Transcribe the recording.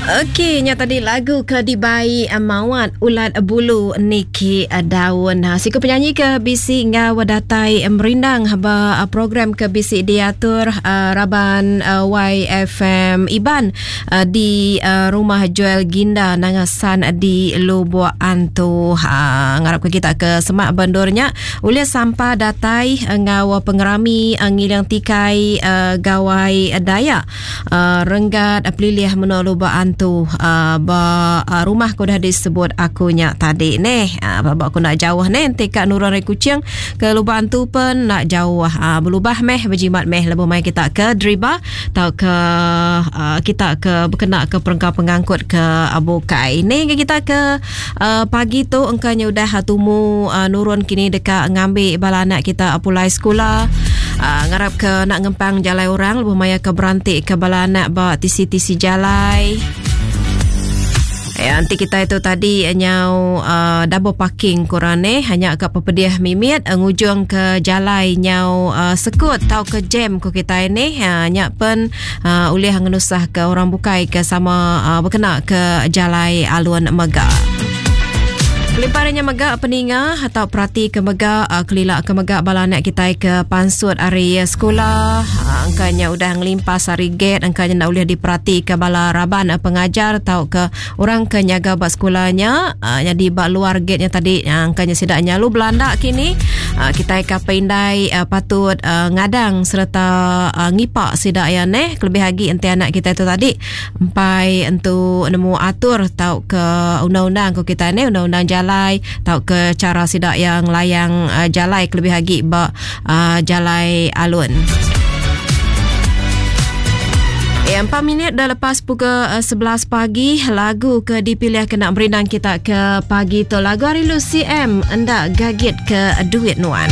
Okey, nya tadi lagu ke dibai eh, Mawat Ulat Bulu Niki eh, Daun. Ha, siku penyanyi ke bisi enggau datai merindang ba eh, program ke bisi diatur raban YFM Iban di rumah Joel Ginda Nangasan di Lubuk Antu. Ha, ngarap ke kita ke semak bendur nya ulih sampa datai enggau pengerami ngiling tikai Gawai Dayak. Renggat pelilih menua Lubok Antu ba rumah ke udah disebut aku nya tadi neh. Ba aku enda jauh neh enti ka nurun ari Kuching ke Lubok Antu pen enda jauh. Belubah meh bejimat meh lebuh mai kita ke deriba tauka kita ke bekena ke perengka pengangkut ke bukai. Ni ga kita ke pagi tu engka nya udah tumu nurun kini deka ngambi bala anak kita pulai sekula. Ngarap ke enda ngempang jalai orang lebuh maya ke beranti ke bala anak ba tisi-tisi jalai. Ya, enti kita itu tadi nyau uh, double parking kurang ni hanya ke pepedih mimit uh, ngujung ke jalai nyau uh, sekut tau ke jam ko kita ini uh, nya pen uh, ulih ngenusah ke orang bukai ke sama uh, berkena ke jalai alun mega. Kelimparannya mega peninga atau perati ke mega uh, kelila ke mega bala anak kita ke pansut ari sekolah uh, angkanya udah ngelimpas ari gate angkanya ndak ulih diperati ke bala raban uh, pengajar atau ke orang ke nyaga ba sekolahnya uh, jadi ba luar gate nya tadi uh, angkanya sida nyalu belanda kini uh, kita ke indai uh, patut uh, ngadang sereta uh, ngipak sida ya neh kelebih agi enti anak kita itu tadi empai entu nemu atur tau ke undang-undang ko kita ni undang-undang jalai tau ke cara sida yang layang uh, jalai kelebih agi ba uh, jalai alun. Ya, 4 minit dah lepas pukul 11 pagi lagu ke dipilih kena merindang kita ke pagi tu lagu hari Lucy M enda gagit ke duit nuan.